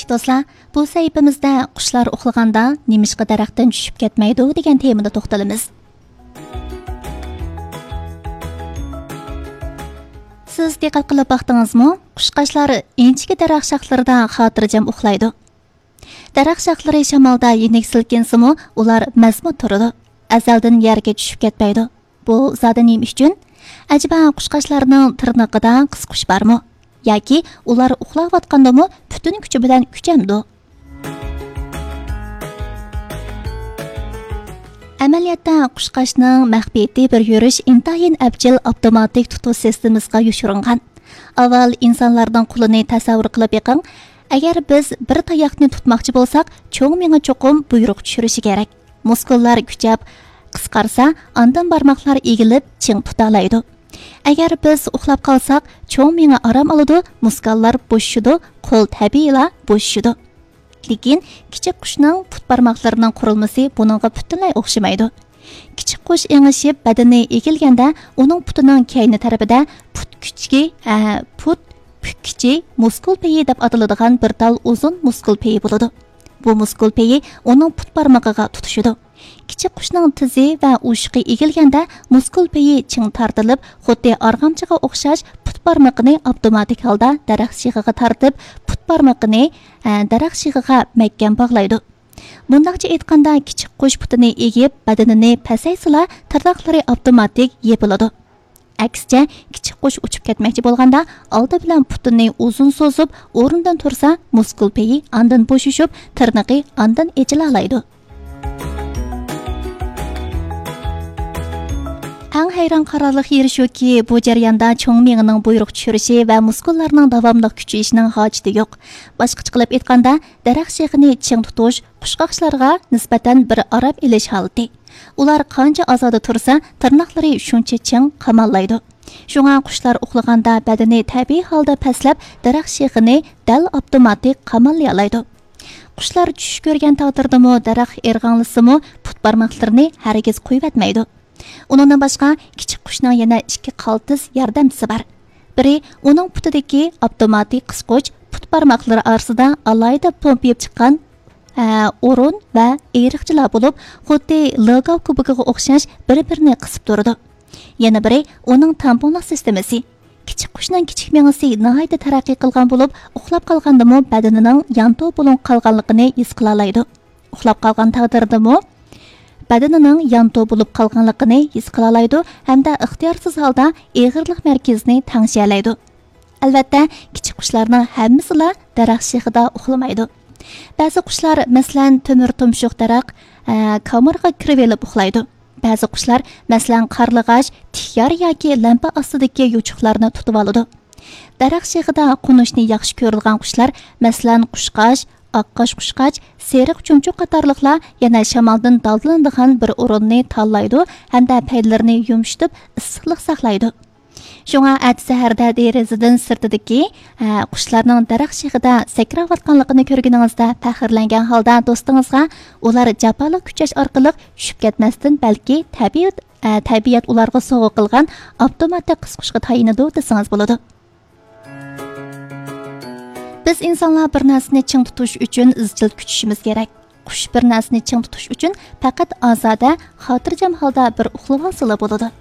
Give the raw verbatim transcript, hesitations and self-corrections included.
دوستلار، بۇ سەھىپىمىزدە قۇشلار ئۇخلىغاندا نېمىشقا دەرەختىن چۈشۈپ كەتمەيدۇ دېگەن تېمىدا توختىلىمىز. سىز دىققەت قىلىپ باقتىڭىزمۇ؟ قۇشقاچلار ئىنچىكە دەرەخ شاخلىرىدا خاتىرجەم ئۇخلايدۇ. دەرەخ شاخلىرى شامالدا يېنىك سىلكىنسىمۇ، ئۇلار مەزمۇت تۇرىدۇ. ئەزەلدىن يەرگە چۈشۈپ كەتمەيدۇ. بۇ زادى نېمە ئۈچۈن؟ ئەجەبا قۇشقاچلارنىڭ تىرنىقىدا قىسقۇچ بارمۇ؟ ياكى ئۇلار ئۇخلاۋاتقاندىمۇ پۈتۈن كۈچى بىلەن كۈچەمدۇ؟ ئەمەلىيەتتە، قۇشقاچنىڭ مەخپىيىتى بىر يۈرۈش ئىنتايىن ئەپچىل ئاپتوماتىك تۇتۇش سىستېمىسىغا يوشۇرۇنغان. ئاۋۋال ئىنسانلارنىڭ قولىنى تەسەۋۋۇر قىلىپ بېقىڭ. ئەگەر بىز بىر تاياقنى تۇتماقچى بولساق، چوڭ مېڭە چوقۇم بۇيرۇق چۈشۈرۈشى كېرەك. مۇسكۇللار كۈچەپ قىسقارسا، ئاندىن بارماقلار ئېگىلىپ، چىڭ تۇتالايدۇ. ئەگەر بىز ئۇخلاپ قالساق، چوڭ مېڭە ئارام ئالىدۇ، مۇسكۇللار بوشىشىدۇ، قول تەبىئىيلا بوشىشىدۇ. لېكىن كىچىك قۇشنىڭ پۇت بارماقلىرىنىڭ قۇرۇلمىسى بۇنىڭغا پۈتۈنلەي ئوخشىمايدۇ. كىچىك قۇش ئېڭىشىپ، بەدىنى ئېگىلگەندە، ئۇنىڭ پۇتىنىڭ كەينى تەرىپىدە پۇت كۈچىكى، ئە، پۇت پۈككۈچى مۇسكۇل پېيى دەپ ئاتىلىدىغان بىر تال ئۇزۇن مۇسكۇل پېيى بولىدۇ. بۇ مۇسكۇل پېيى ئۇنىڭ پۇت بارمىقىغا تۇتىشىدۇ. كىچىك قۇشنىڭ تىزى ۋە ئۇششۇقى ئېگىلگەندە، مۇسكۇل پېيى چىڭ تارتىلىپ، خۇددى ئارغامچىغا ئوخشاش پۇت بارمىقىنى ئاپتوماتىك ھالدا دەرەخ شېخىغا تارتىپ، پۇت بارمىقىنى، ئە، دەرەخ شېخىغا مەھكەم باغلايدۇ. مۇنداقچە ئېيتقاندا، كىچىك قۇش پۇتىنى ئېگىپ، بەدىنىنى پەسەيسىلا، تىرناقلىرى ئاپتوماتىك يېپىلىدۇ. ئەكسىچە، كىچىك قۇش ئۇچۇپ كەتمەكچى بولغاندا، ئالدى بىلەن پۇتىنى ئۇزۇن سوزۇپ، ئورنىدىن تۇرسا، مۇسكۇل پېيى ئاندىن بوشىشىپ، تىرنىقى ئاندىن ئېچىلالايدۇ. ئەڭ ھەيران قالارلىق يېرى شۇكى، بۇ جەرياندا چوڭ مېڭىنىڭ بۇيرۇق چۈشۈرۈشى ۋە مۇسكۇللارنىڭ داۋاملىق كۈچىيىشىنىڭ ھاجىتى يوق. باشقىچە قىلىپ ئېيتقاندا، دەرەخ شېخىنى چىڭ تۇتۇش قۇشقاچلارغا نىسبەتەن بىر ئارام ئېلىش ھالىتى. ئۇلار قانچە ئازادە تۇرسا، تىرناقلىرى شۇنچە چىڭ قاماللايدۇ. شۇڭا قۇشلار ئۇخلىغاندا بەدىنى تەبىئىي ھالدا پەسلەپ، دەرەخ شېخىنى دەل ئاپتوماتىك قاماللىيالايدۇ. قۇشلار چۈش كۆرگەن تەقدىردىمۇ، دەرەخ ئىرغاڭلىسىمۇ، پۇت بارماقلىرىنى ھەرگىز قويۇۋەتمەيدۇ. ئۇنىڭدىن باشقا، كىچىك قۇشنىڭ يەنە ئىككى قالتىس ياردەمچىسى بار. بىرى ئۇنىڭ پۇتىدىكى ئاپتوماتىك قىسقۇچ، پۇت بارماقلىرى ئارىسىدا ئالاھىدە پومپىيىپ چىققان، ئە، ئورۇن ۋە ئېرىقچىلار بولۇپ، خۇددى لىگاۋ كۇبىكىغا ئوخشاش بىر-بىرىنى قىسىپ تۇرىدۇ. يەنە بىرى ئۇنىڭ تامپونلۇق سىستېمىسى. كىچىك قۇشنىڭ كىچىك مېڭىسى ناھايىتى تەرەققىي قىلغان بولۇپ، ئۇخلاپ قالغاندىمۇ بەدىنىنىڭ يانتۇ بولۇنۇپ قالغانلىقىنى ھېس قىلالايدۇ. ئۇخلاپ قالغان تەقدىردىمۇ بەدىنىنىڭ يانتۇ بولۇپ قالغانلىقىنى ھېس قىلالايدۇ ھەمدە ئىختىيارسىز ھالدا ئېغىرلىق مەركىزىنى تەڭشىيەلەيدۇ. ئەلۋەتتە، كىچىك قۇشلارنىڭ ھەممىسىلا دەرەخ شېخىدا ئۇخلىمايدۇ. بەزى قۇشلار، مەسىلەن، تۆمۈر تۇمشۇق دەرەخ، ئە، كامىرىغا كىرىۋېلىپ ئۇخلايدۇ. بەزى قۇشلار، مەسىلەن، قارلىغاچ، تىك يار ياكى لەمپە ئاستىدىكى يوچۇقلارنى تۇتۇۋالىدۇ. دەرەخ شېخىدا قونۇشنى ياخشى كۆرىدىغان قۇشلار، مەسىلەن، قۇشقاچ، ئاققاش قۇشقاچ، سېرىق چۇمچۇق قاتارلىقلار يەنە شامالدىن دالدىلىنىدىغان بىر ئورۇننى تاللايدۇ ھەمدە پەيلىرىنى يۇمشىتىپ، ئىسسىقلىق ساقلايدۇ. شۇڭا ئەتە سەھەردە دېرىزىدىن سىرتىدىكى، ئە، قۇشلارنىڭ دەرەخ شېخىدا سەكرەۋاتقانلىقىنى كۆرگىنىڭىزدە پەخىرلەنگەن ھالدا دوستىڭىزغا، ئۇلار جاپالىق كۈچەش ئارقىلىق چۈشۈپ كەتمەستىن، بەلكى تەبىئەت، ئە، تەبىئەت ئۇلارغا سوۋغا قىلغان ئاپتوماتىك قىسقۇچقا تايىنىدۇ دېسىڭىز بولىدۇ. بىز ئىنسانلار بىر نەرسىنى چىڭ تۇتۇش ئۈچۈن ئىزچىل كۈچىشىمىز كېرەك. قۇش بىر نەرسىنى چىڭ تۇتۇش ئۈچۈن پەقەت ئازادە، خاتىرجەم ھالدا بىر ئۇخلىۋالسىلا بولىدۇ.